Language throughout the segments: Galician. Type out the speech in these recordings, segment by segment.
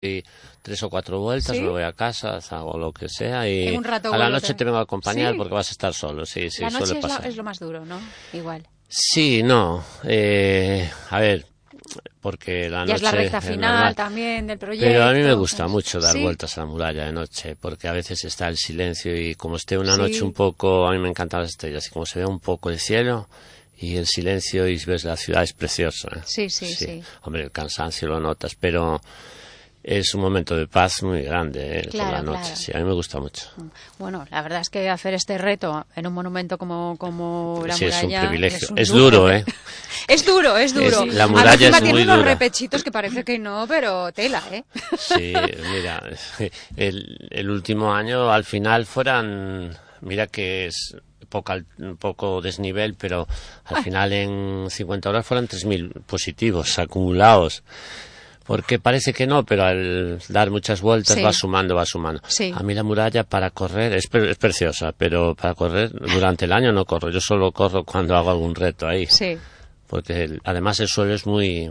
y 3 o 4 vueltas, ¿Sí? me voy a casa, hago lo que sea y En un rato a la noche te vengo a acompañar, ¿sí? porque vas a estar solo, sí, La noche suele pasar. es lo más duro, ¿no? Igual. Sí, no, a ver, porque la Ya noche es la recta es final normal. también del proyecto. Pero a mí me gusta mucho dar ¿sí? vueltas a la muralla de noche, porque a veces está el silencio y como esté una Sí. noche un poco, a mí me encantan las estrellas, y como se ve un poco el cielo y el silencio y ves la ciudad es precioso, ¿eh? Sí. Hombre, el cansancio lo notas, pero es un momento de paz muy grande, por la noche. Claro. Sí, a mí me gusta mucho. Bueno, la verdad es que hacer este reto en un monumento como la Sí, muralla es un privilegio. un Es lujo. duro, ¿eh? Es duro. La muralla encima es tiene muy unos dura. repechitos que parece que no, pero tela, ¿eh? Sí, mira, el último año al final mira que es un poco desnivel, pero al final en 50 horas fueron 3.000 positivos acumulados. Porque parece que no, pero al dar muchas vueltas Sí. va sumando. Sí. A mí la muralla para correr es preciosa, pero para correr durante el año no corro. Yo solo corro cuando hago algún reto ahí. Sí. Porque además el suelo es muy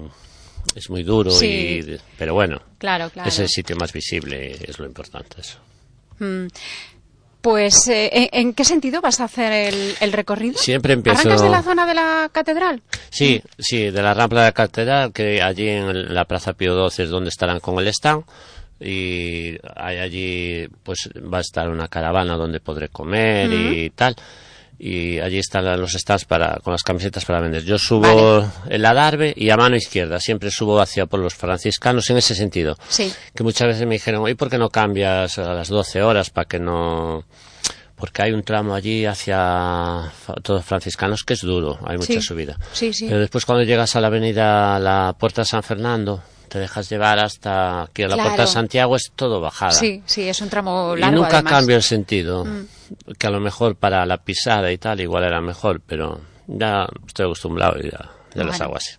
duro, Sí. pero bueno, Claro. es el sitio más visible, es lo importante eso. Pues, ¿en qué sentido vas a hacer el recorrido? Siempre empiezo... ¿Arrancas de la zona de la catedral? Sí, de la rampa de la catedral, que allí en la Plaza Pío XII es donde estarán con el stand, y allí pues va a estar una caravana donde podré comer y tal, y allí están los stands con las camisetas para vender. Yo subo el adarve y a mano izquierda, siempre subo hacia por los franciscanos en ese sentido. Sí. Que muchas veces me dijeron, ¿y por qué no cambias a las 12 horas para que no...? Porque hay un tramo allí hacia todos franciscanos que es duro, hay mucha subida. Sí. Pero después cuando llegas a la avenida, la Puerta de San Fernando, te dejas llevar hasta aquí a la Puerta de Santiago, es todo bajada. Sí, es un tramo largo. Y nunca además. cambio el sentido, que a lo mejor para la pisada y tal igual era mejor, pero ya estoy acostumbrado y ya las hago así.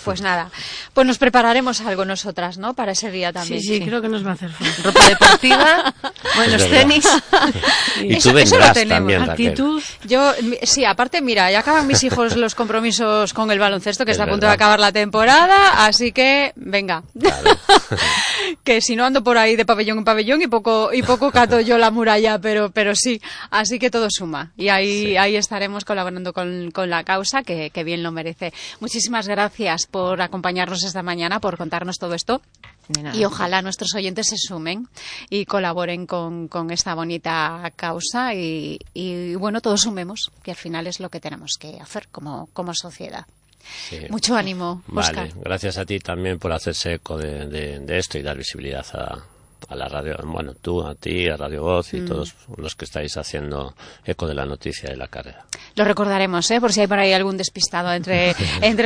Pues nada, pues nos prepararemos algo nosotras, ¿no? Para ese día también. Sí, creo que nos va a hacer falta. Ropa deportiva, buenos tenis. Y Eso tú vendrás lo tenemos. también, Raquel. Actitud. Yo, sí, aparte, mira, ya acaban mis hijos los compromisos con el baloncesto, que Es está a punto verdad. de acabar la temporada, así que, venga. Claro. Que si no ando por ahí de pabellón en pabellón y poco cato yo la muralla, pero sí, así que todo suma. Y ahí estaremos colaborando con la causa, que bien lo merece. Muchísimas gracias por acompañarnos esta mañana, por contarnos todo esto. Y ojalá nuestros oyentes se sumen y colaboren con esta bonita causa y bueno, todos sumemos, que al final es lo que tenemos que hacer como sociedad. Sí. Mucho ánimo, Óscar. Vale, gracias a ti también por hacerse eco de esto y dar visibilidad a la radio, bueno, a ti, a Radio Voz y todos los que estáis haciendo eco de la noticia de la carrera. Lo recordaremos, por si hay por ahí algún despistado entre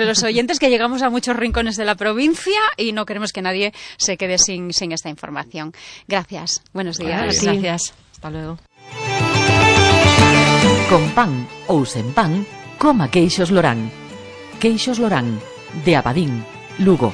los oyentes, que llegamos a muchos rincones de la provincia y no queremos que nadie se quede sin esta información. Gracias, buenos días. Vale, gracias. Hasta luego. Con pan ou sen pan, coma queixos Lorán. Queixos Lorán, de Abadín, Lugo.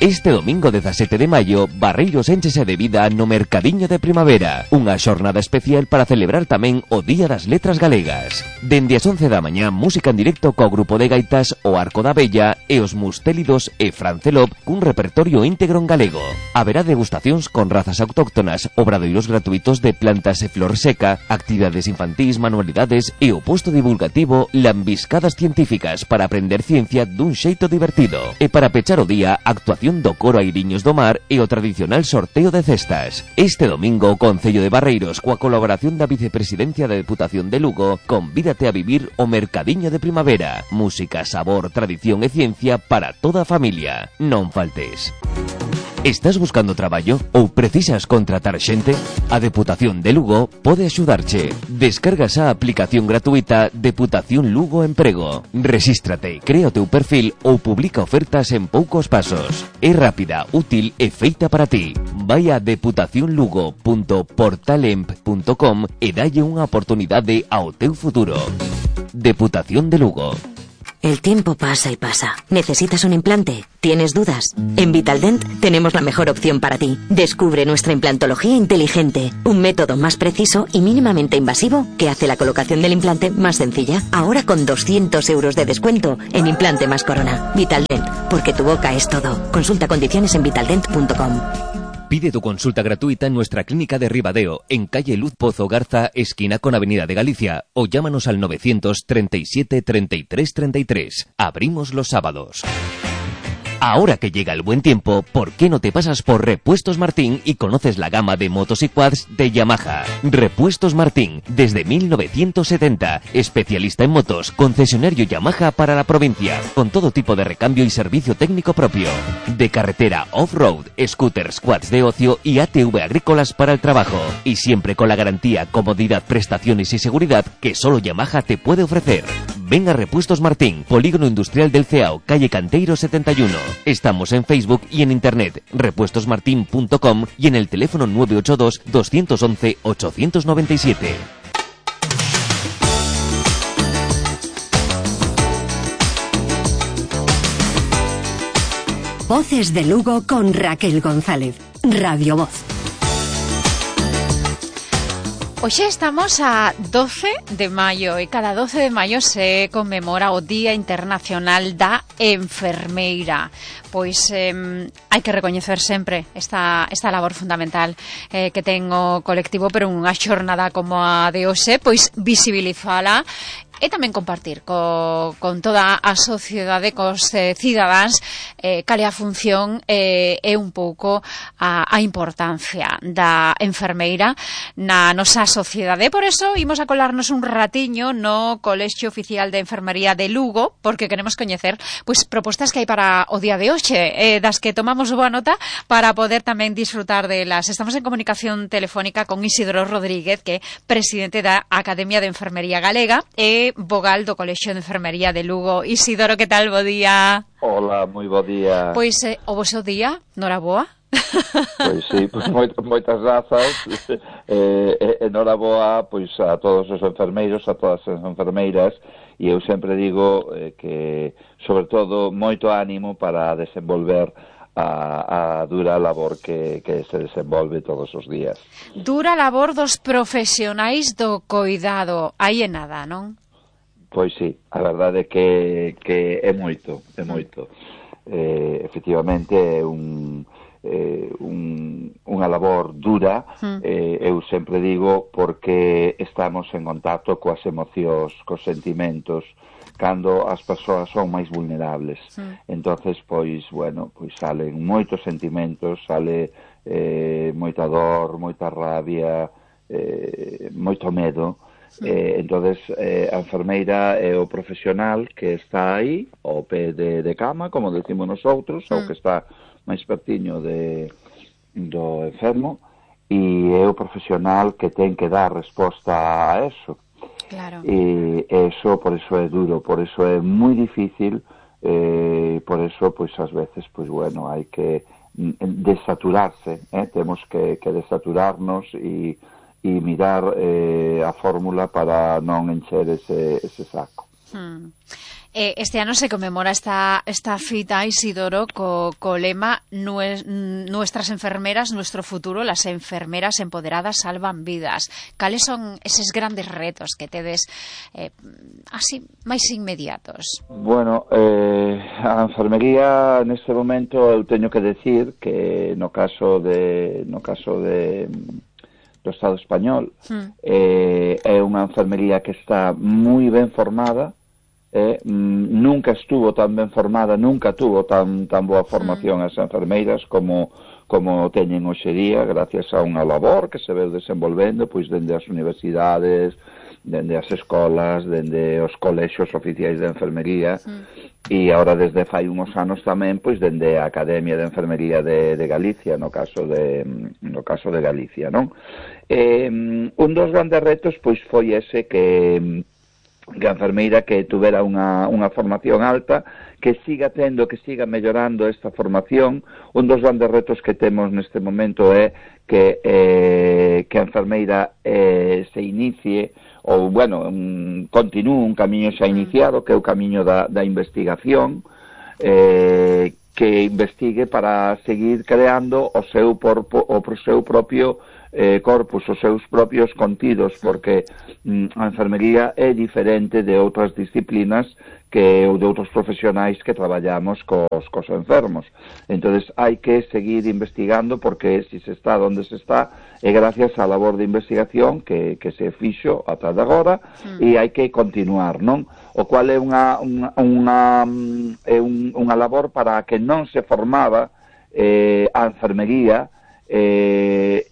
Este domingo 17 de maio, Barreiros énchese de vida no Mercadiño de Primavera, unha xornada especial para celebrar tamén o Día das Letras Galegas. Dende as 11 da mañá, música en directo co grupo de gaitas O Arco da Bella e os Mustélidos e Francelop cun repertorio íntegro en galego. Haberá degustacións con razas autóctonas, obradoiros gratuitos de plantas e flor seca, actividades infantís, manualidades e o posto divulgativo Lambiscadas Científicas para aprender ciencia dun xeito divertido. E para pechar o día, actuación do coro Airiños do Mar e o tradicional sorteo de cestas. Este domingo o Concello de Barreiros, coa colaboración da Vicepresidencia da Deputación de Lugo, convídate a vivir o Mercadiño de Primavera. Música, sabor, tradición e ciencia para toda a familia. Non faltes. Estás buscando traballo ou precisas contratar xente? A Deputación de Lugo pode axudarche. Descargas a aplicación gratuita Deputación Lugo Emprego. Rexístrate, crea o teu perfil ou publica ofertas en poucos pasos. É rápida, útil e feita para ti. Vai a deputacionlugo.portalemp.com e dalle unha oportunidade ao teu futuro. Deputación de Lugo. El tiempo pasa y pasa. ¿Necesitas un implante? ¿Tienes dudas? En Vitaldent tenemos la mejor opción para ti. Descubre nuestra implantología inteligente, un método más preciso y mínimamente invasivo que hace la colocación del implante más sencilla. Ahora con 200 euros de descuento en implante más corona. Vitaldent, porque tu boca es todo. Consulta condiciones en vitaldent.com. Pide tu consulta gratuita en nuestra clínica de Ribadeo, en calle Luz Pozo Garza, esquina con Avenida de Galicia, o llámanos al 937 33 33. Abrimos los sábados. Ahora que llega el buen tiempo, ¿por qué no te pasas por Repuestos Martín y conoces la gama de motos y quads de Yamaha? Repuestos Martín, desde 1970, especialista en motos, concesionario Yamaha para la provincia, con todo tipo de recambio y servicio técnico propio. De carretera, off-road, scooters, quads de ocio y ATV agrícolas para el trabajo. Y siempre con la garantía, comodidad, prestaciones y seguridad que solo Yamaha te puede ofrecer. Ven a Repuestos Martín, Polígono Industrial del Ceao, calle Canteiro 71. Estamos en Facebook y en internet, repuestosmartin.com y en el teléfono 982 211 897. Voces de Lugo con Raquel González. Radio Voz. Hoxe estamos a 12 de maio e cada 12 de maio se conmemora o Día Internacional da Enfermeira. Pois hai que recoñecer sempre esta labor fundamental que ten o colectivo, pero unha xornada como a de hoxe, pois visibilizala e tamén compartir con toda a sociedade, cos cidadáns, cal é a función e un pouco a importancia da enfermeira na nosa sociedade. Por eso, imos a colarnos un ratiño no Colexio Oficial de Enfermería de Lugo, porque queremos coñecer pois propostas que hai para o día de hoxe, das que tomamos boa nota para poder tamén disfrutar delas. Estamos en comunicación telefónica con Isidro Rodríguez, que é presidente da Academia de Enfermería Galega e vogal do Colexio de Enfermería de Lugo. Isidoro, que tal? Bo día. Hola, moi bo día. Pois, o vosso día, noraboa. Pois sí, pois moitas grazas. Noraboa pois a todos os enfermeiros, a todas as enfermeiras, e eu sempre digo que, sobre todo, moito ánimo para desenvolver a dura labor que se desenvolve todos os días. Dura labor dos profesionais do coidado, aí é nada, non? Pois sí, a verdade é que é moito, é moito. Efectivamente é unha labor dura, eu sempre digo, porque estamos en contacto coas emocións, cos sentimentos, cando as persoas son máis vulnerables. Entonces, pois, bueno, pois salen moitos sentimentos, sale moita dor, moita rabia, moito medo. Entonces, a enfermeira é o profesional que está aí ao pé de cama, como decimos nosotros, ou que está máis pertiño do enfermo, e é o profesional que ten que dar resposta a eso. Claro. E eso, por eso é duro, por eso é moi difícil, por eso, pois, ás veces, pois, bueno, hai que desaturarse, temos que desaturarnos e mirar a fórmula para non encher ese saco. Este ano se conmemora esta fita, Isidoro, co lema Nuestras enfermeras, nuestro futuro, las enfermeras empoderadas salvan vidas. Cales son eses grandes retos que tedes así máis inmediatos? Bueno, a enfermería neste momento eu teño que decir que no caso do Estado español é unha enfermería que está moi ben formada, nunca estuvo tan ben formada, nunca tuvo tan boa formación as enfermeiras como teñen hoxe día, gracias a unha labor que se veu desenvolvendo pois dende as universidades, dende as escolas, dende os colexios oficiais de enfermería, e agora desde fai uns anos tamén pois dende a Academia de Enfermería de Galicia, no caso de Galicia, non? Un dos grandes retos pois foi ese que a enfermeira que tuvera unha formación alta, que siga mellorando esta formación. Un dos grandes retos que temos neste momento é que a enfermeira se inicie ou bueno, continúe un camiño xa iniciado, que é o camiño da investigación, que investigue para seguir creando o seu propio corpus, os seus propios contidos, porque a enfermería é diferente de outras disciplinas ou de outros profesionais que traballamos cos enfermos. Entonces hai que seguir investigando, porque se está onde se está é gracias á labor de investigación que se fixo ata de agora, e hai que continuar, non? O cual é unha labor para que non se formaba a enfermería, e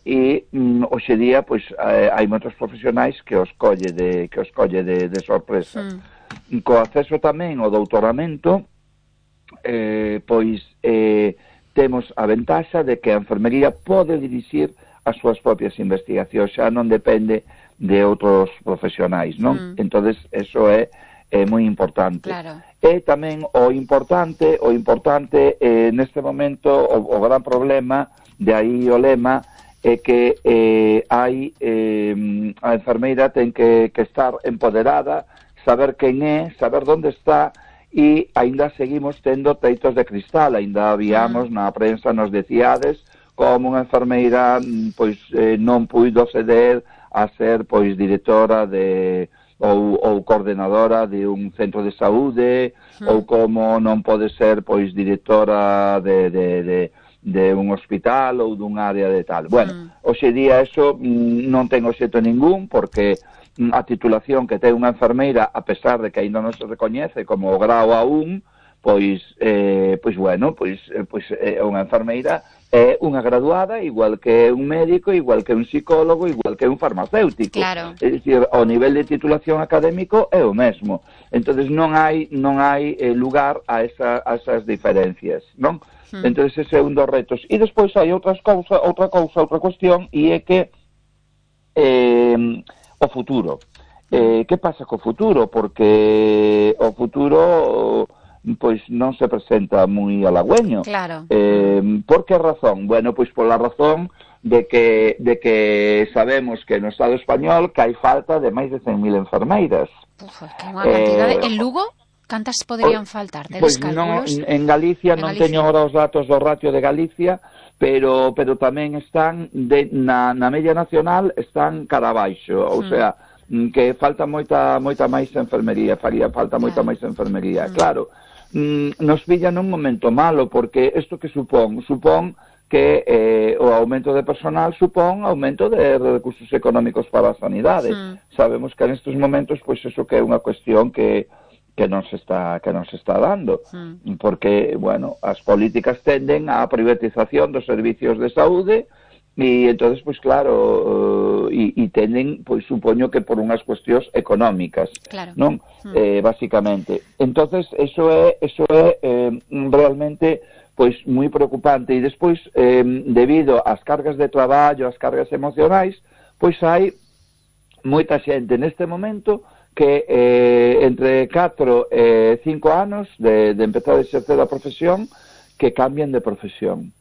hoxe día pois hai moitos profesionais que os colle de sorpresa. Co acceso tamén ao doutoramento, temos a ventaxa de que a enfermería pode dirixir as súas propias investigacións, xa non depende de outros profesionais, non? Entonces, eso é moi importante. Claro. E tamén o importante neste momento, o gran problema, de aí o lema, é que a enfermeira ten que estar empoderada, saber quen é, saber onde está, e aínda seguimos tendo teitos de cristal. Aínda habíamos na prensa, nos decíades como unha enfermeira pois non puido ceder a ser pois directora ou coordenadora de un centro de saúde, ou como non pode ser pois directora de un hospital ou dun área de tal. Bueno, hoxe día eso non ten obxecto ningún, porque a titulación que ten unha enfermeira, a pesar de que ainda non se recoñece como o grau A1, pois unha enfermeira é unha graduada, igual que un médico, igual que un psicólogo, igual que un farmacéutico. Claro. É dicir, o nivel de titulación académico é o mesmo. Entonces non hai lugar a esas diferencias, non? Entonces ese é un dos retos. E despois hai outra cuestión, e é que o futuro. Que pasa co futuro? Porque o futuro pois non se presenta moi halagüeño. Claro. Por que razón? Bueno, pois pola razón de que sabemos que no Estado español que hai falta de máis de 100.000 enfermeiras. Que unha cantidade. En Lugo, cantas poderían faltar? Pois non, en Galicia non teño agora os datos do ratio de Galicia, pero tamén están na media nacional, están cara abaixo, ou sea, que falta moita máis enfermería, faría falta moita máis enfermería. Claro, nos pilla nun momento malo, porque isto que supón que o aumento de personal supón aumento de recursos económicos para a sanidade. Sabemos que nestes momentos, pois eso que é unha cuestión que non se está dando, porque, bueno, as políticas tenden á privatización dos servicios de saúde, e entonces, pois claro, e tenden, pois supoño que por unhas cuestións económicas, claro, non? Basicamente. Entonces, eso é realmente pois moi preocupante, e despois, debido ás cargas de traballo, ás cargas emocionais, pois hai moita xente neste momento que entre 4 e 5 anos de empezar a exercer a profesión, que cambien de profesión.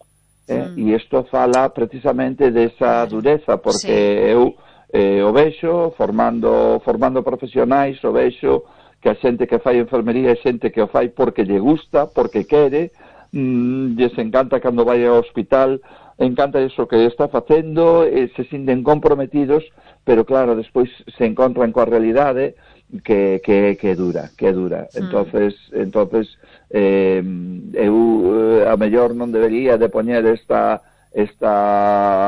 E isto fala precisamente desa dureza, porque eu o vexo formando profesionais, o vexo que a xente que fai enfermería é xente que o fai porque lle gusta, porque quere, lles encanta cando vai ao hospital, encanta iso que está facendo, se sinten comprometidos, pero claro, despois se encontran coa realidade que dura. Entonces eu a mellor non debería de poñer esta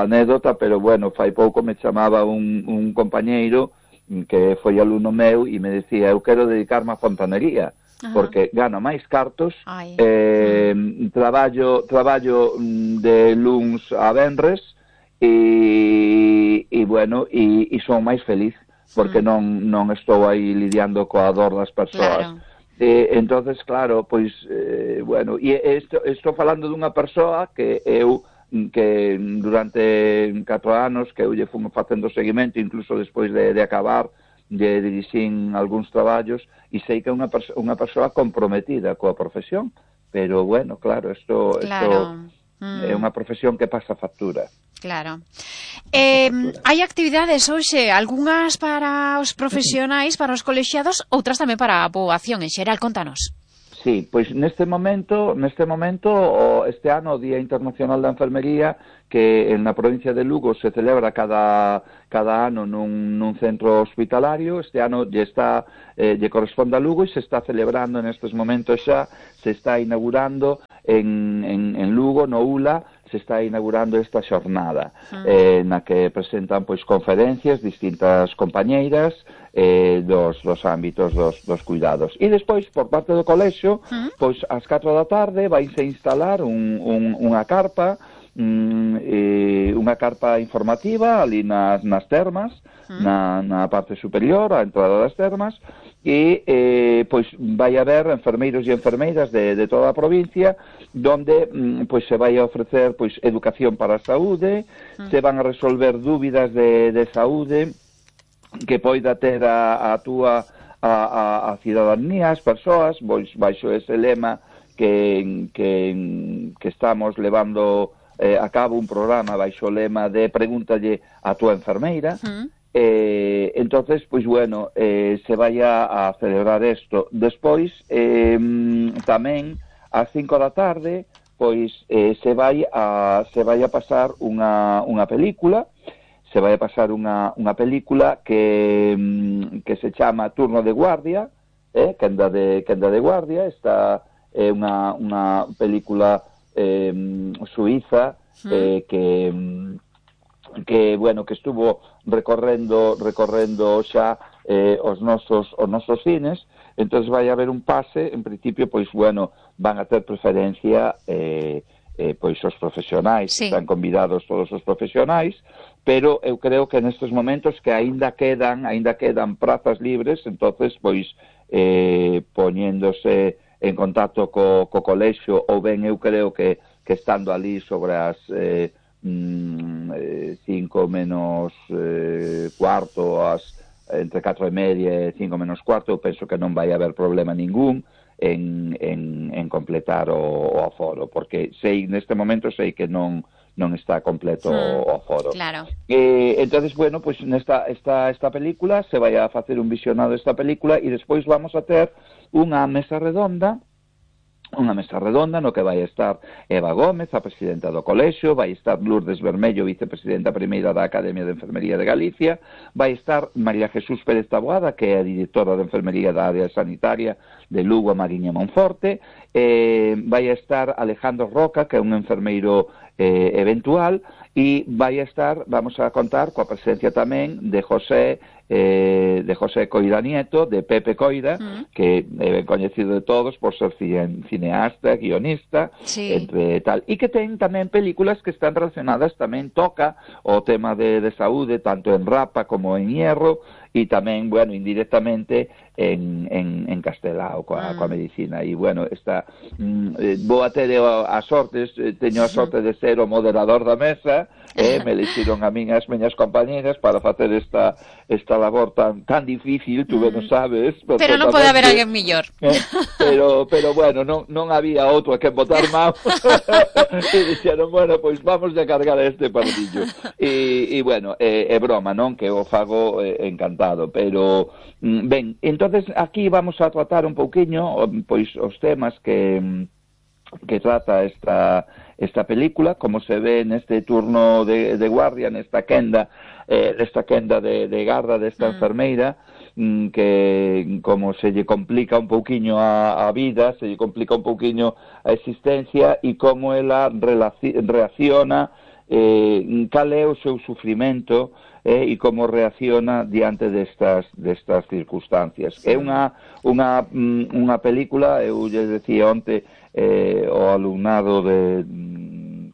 anécdota, pero bueno, fai pouco me chamaba un compañeiro que foi alumno meu e me decía, eu quero dedicarme á fontanería, porque gano máis cartos, traballo de luns a venres, e bueno, e son máis feliz, porque non estou aí lidiando coa dor das persoas. Claro. Entonces, claro, pois, bueno, e estou falando dunha persoa que durante 4 anos que eu lle fumo facendo seguimento, incluso despois de acabar, de dirixir algúns traballos, e sei que é unha persoa comprometida coa profesión, pero, bueno, claro, isto é unha profesión que pasa factura. Claro. Hai actividades hoxe, algunhas para os profesionais, para os colexiados, outras tamén para a poboación en xeral, contanos. Sí, pois neste momento, este ano o Día Internacional da Enfermería, que na provincia de Lugo se celebra cada ano nun centro hospitalario. Este ano lle corresponde a Lugo e se está celebrando nestes momentos xa, se está inaugurando en Lugo, no ULA, se está inaugurando esta xornada na que presentan pois conferencias distintas compañeiras dos ámbitos dos cuidados. E despois, por parte do colexio, pois ás 4 da tarde vaise instalar unha carpa informativa ali nas termas, na parte superior, á entrada das termas, e pois vai haber enfermeiros e enfermeiras de toda a provincia, donde pois se vai a ofrecer pois educación para a saúde, se van a resolver dúbidas de saúde que poida ter a cidadanía, as persoas, pois baixo ese lema que estamos levando a cabo un programa baixo o lema de pregúntalle a túa enfermeira. Entonces, pois bueno, se vai a celebrar isto. Despois, tamén ás 5 da tarde, pois se vai a pasar unha película. Se vai a pasar unha película que se chama Turno de Guardia, Quenda de Guardia. Esta é unha película suiza que bueno, que estuvo recorrendo xa os nosos cines. Entonces vai haber un pase, en principio, pois bueno, van a ter preferencia pois os profesionais, están convidados todos os profesionais, pero eu creo que nestes momentos que aínda quedan prazas libres, entonces pois poñéndose en contacto co colexio, ou ben eu creo que estando ali sobre as 5 menos cuarto, entre 4 e media e 5 menos cuarto, eu penso que non vai haber problema ningún en completar o aforo, porque neste momento sei que non está completo o aforo. Claro. Entonces, bueno, pues esta película, se vai a facer un visionado desta película e despois vamos a ter unha mesa redonda no que vai estar Eva Gómez, a presidenta do colexio, vai estar Lourdes Bermello, vicepresidenta primeira da Academia de Enfermería de Galicia, vai estar María Jesús Pérez Taboada, que é a directora de Enfermería da área sanitaria de Lugo, Mariña e Monforte, vai estar Alejandro Roca, que é un enfermeiro eventual, e vamos a contar coa presencia tamén de José Coira Nieto, de Pepe Coira, que é ben coñecido de todos por ser cineasta, guionista, entre tal, e que ten tamén películas que están relacionadas, tamén toca o tema de saúde, tanto en Rapa como en Hierro, e tamén, bueno, indirectamente en Castelao coa medicina. E, bueno, vou a ter teño a sorte de ser o moderador da mesa, me elixiron a min as meñas compañeras para facer esta labor tan difícil, tú non sabes. Pero non pode haber alguén millor. Pero bueno, non había outro a que botar mão. E dixeron, bueno, pois vamos a cargar este pardillo. E bueno, é broma, non? Que o fago encantado, pero ben, entonces aquí vamos a tratar un pouquiño pois os temas que trata esta película, como se ve neste turno de guardia, nesta quenda de garda desta enfermeira, que como se lle complica un pouquiño a vida, se lle complica un pouquiño a existencia, e como ela reacciona, cal é o seu sufrimento, e como reacciona diante destas circunstancias. É unha película, eu lle decía onte o alumnado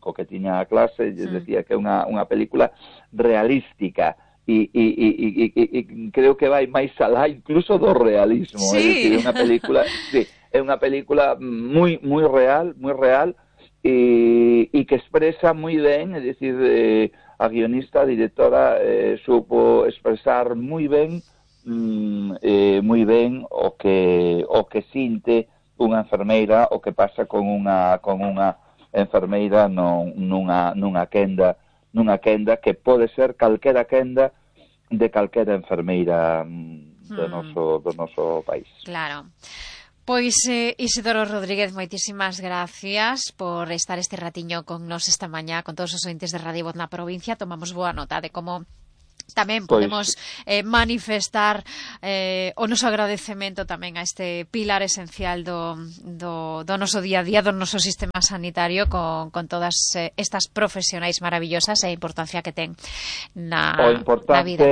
co que tiña a clase, lle decía que é unha película realística, e creo que vai máis alá incluso do realismo. É unha película moi real, e que expresa moi ben, é dicir, a guionista, a directora, supo expresar moi ben o que sinte unha enfermeira, o que pasa con unha enfermeira nunha quenda nunha quenda que pode ser calquera quenda de calquera enfermeira do noso país. Claro. Pois Isidoro Rodríguez, moitísimas gracias por estar este ratiño con nos esta mañá, con todos os ointes de Radio Voz na provincia. Tomamos boa nota de como tamén podemos manifestar o noso agradecemento tamén a este pilar esencial do noso día a día, do noso sistema sanitario con todas estas profesionais maravillosas e a importancia que ten na vida.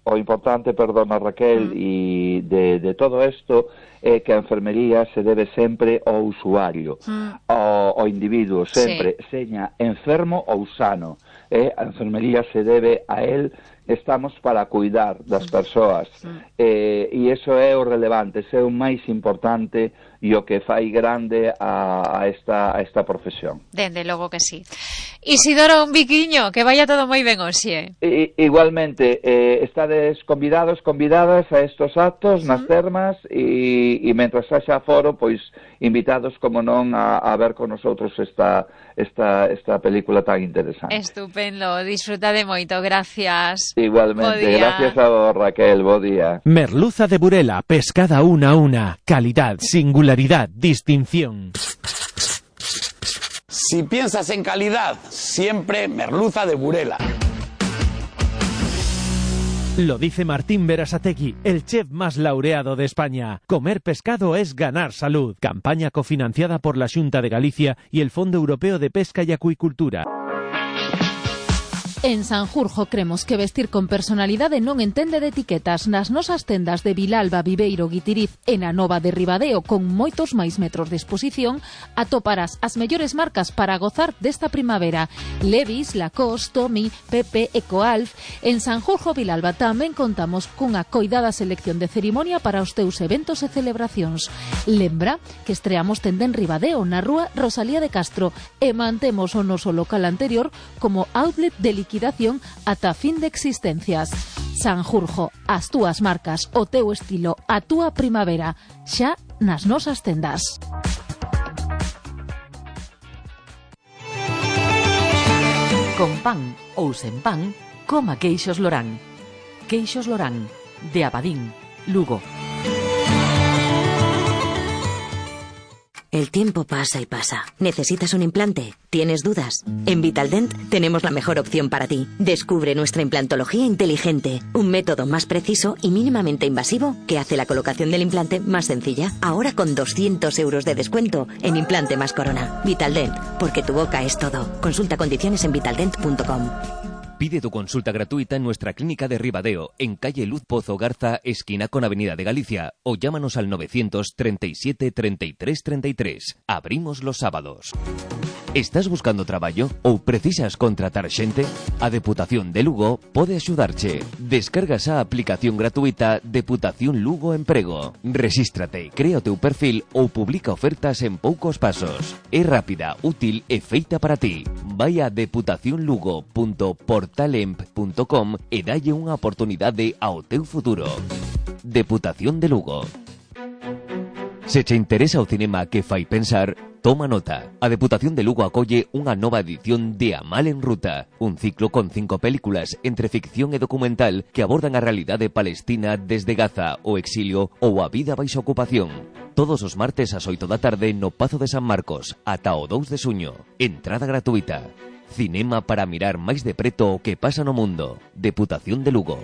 O importante, perdona Raquel, e de todo isto é que a enfermería se debe sempre ao usuario, ao individuo, sempre, seña enfermo ou sano. A enfermería se debe a él, estamos para cuidar das persoas, e iso é o relevante, ese é o máis importante e o que fai grande a esta profesión. Dende logo que sí. Isidoro, un biquiño, que vaya todo moi ben hoxe. Igualmente, estades convidados, convidadas a estos actos nas termas e mentras haxa foro, pois invitados, como non, a ver con nosotros esta película tan interesante. Estupendo, disfrutade moito, gracias. Igualmente, gracias a vos, Raquel, bo día. Merluza de Burela, pescada una a una, calidad, singularidad, distinción. Si piensas en calidad, siempre merluza de Burela. Lo dice Martín Berasategui, el chef más laureado de España. Comer pescado es ganar salud. Campaña cofinanciada por la Xunta de Galicia y el Fondo Europeo de Pesca y Acuicultura. En Sanjurjo cremos que vestir con personalidade non entende de etiquetas. Nas nosas tendas de Vilalba, Viveiro, Guitiriz e na Nova de Ribadeo, con moitos máis metros de exposición, atoparás as mellores marcas para gozar desta primavera. Levi's, Lacoste, Tommy, Pepe, Ecoalf. En Sanjurjo, Vilalba tamén contamos cunha coidada selección de cerimonia para os teus eventos e celebracións. Lembra que estreamos tenda en Ribadeo, na rúa Rosalía de Castro, e mantemos o noso local anterior como outlet de liquidación ata fin de existencias. Sanjurjo, as túas marcas, o teu estilo, a túa primavera, xa nas nosas tendas. Con pan ou sen pan, coma queixos Lorán. Queixos Lorán, de Abadín, Lugo. El tiempo pasa y pasa. ¿Necesitas un implante? ¿Tienes dudas? En Vitaldent tenemos la mejor opción para ti. Descubre nuestra implantología inteligente, un método más preciso y mínimamente invasivo que hace la colocación del implante más sencilla. Ahora con 200 euros de descuento en implante más corona. Vitaldent, porque tu boca es todo. Consulta condiciones en vitaldent.com. Pide tu consulta gratuita en nuestra clínica de Ribadeo, en calle Luz Pozo Garza, esquina con Avenida de Galicia, o llámanos al 937 33 33. Abrimos los sábados. Estás buscando traballo ou precisas contratar xente? A Deputación de Lugo pode axudarche. Descargas a aplicación gratuita Deputación Lugo Emprego. Rexístrate, crea o teu perfil ou publica ofertas en poucos pasos. É rápida, útil e feita para ti. Vai a deputacionlugo.portalemp.com e dalle unha oportunidade ao teu futuro. Deputación de Lugo. Se che interesa o cinema que fai pensar, toma nota. A Deputación de Lugo acolle unha nova edición de A Mal en Ruta, un ciclo con 5 películas entre ficción e documental que abordan a realidade palestina desde Gaza, o exilio ou a vida baixo ocupación. Todos os martes ás 8 da tarde no Pazo de San Marcos, ata o 2 de xuño. Entrada gratuita. Cinema para mirar máis de preto o que pasa no mundo. Deputación de Lugo.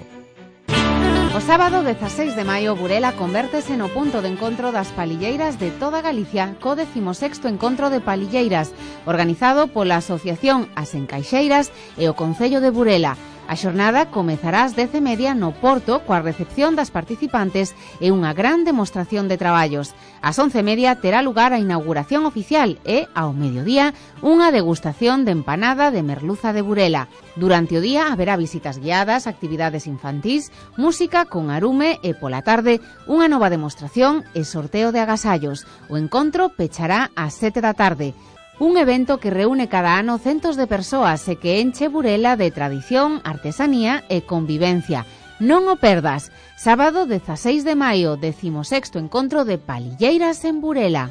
O sábado 16 de maio, Burela convértese no punto de encontro das palilleiras de toda Galicia, co 16º Encontro de Palilleiras, organizado pola Asociación As Encaixeiras e o Concello de Burela. A xornada comezará ás 10:30 no Porto coa recepción das participantes e unha gran demostración de traballos. Ás 11:30 terá lugar a inauguración oficial e, ao mediodía, unha degustación de empanada de merluza de Burela. Durante o día haberá visitas guiadas, actividades infantís, música con arume e, pola tarde, unha nova demostración e sorteo de agasallos. O encontro pechará ás 7 da tarde. Un evento que reúne cada ano centos de persoas e que enche Burela de tradición, artesanía e convivencia. Non o perdas. Sábado 16 de maio, 16º Encontro de Palilleiras en Burela.